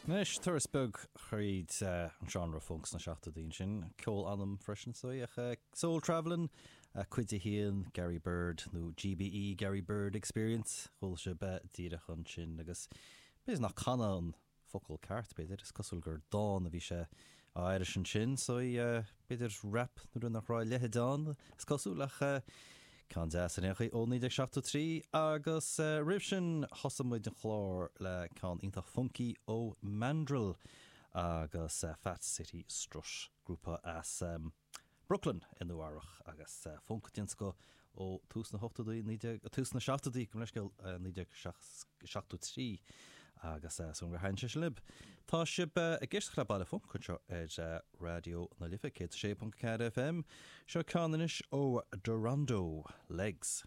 Anois, turas beag thríd an seánra func sna seachtóidí ansin, ceol anam freisin is dóigh, ach Soul Travelin', cuid a haon, Gary Byrd, nó GBE, Gary Byrd Experience, chuala sibh díreach ansin agus b'fhéidir nach canadh an focal ceart, b'fhéidir, is cosúil gur dán a bhí sé á aithris ansin, so b'fhéidir rap nó rud nach raibh a leithéid ann, is cosúil, ach ceann deas ar aon chaoi ó 1973 agus roimh sin thosaigh muid an chlár le ceann iontach funky ó Mandrill agus Fat City Strut, grúpa as Brooklyn i Nua Eabhrach agus func den scoth ó tús na hochtóidí, tús na seachtóidí, gabh mo leithscéal, 1973 agus súil agam gur thaitin sé sin libh. Tá sibh ag éisteacht le Baile Func anseo ar Raidió na Life 106.4 FM. Seo ceann anois ó Darondo, Legs.